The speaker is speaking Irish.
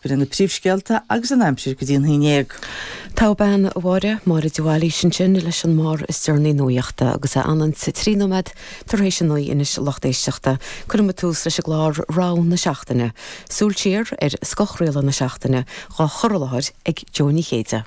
B'in na príomhscéalta agus an aimsir go dtí an haon dhéag. Togha bean, a Mháire, Máire de Bhailís ansin leis an mbarr is deireanaí nuaíochta agus é anonn sa 3 nóiméad tar éis a 9 anois a lucht éisteachta. Cuirfidh muid tús leis an gclár Rogha na Seachtaine. Súil siar ar scothchraoladh na seachtaine dhá chur i láthair ag Jó Ní Chéide.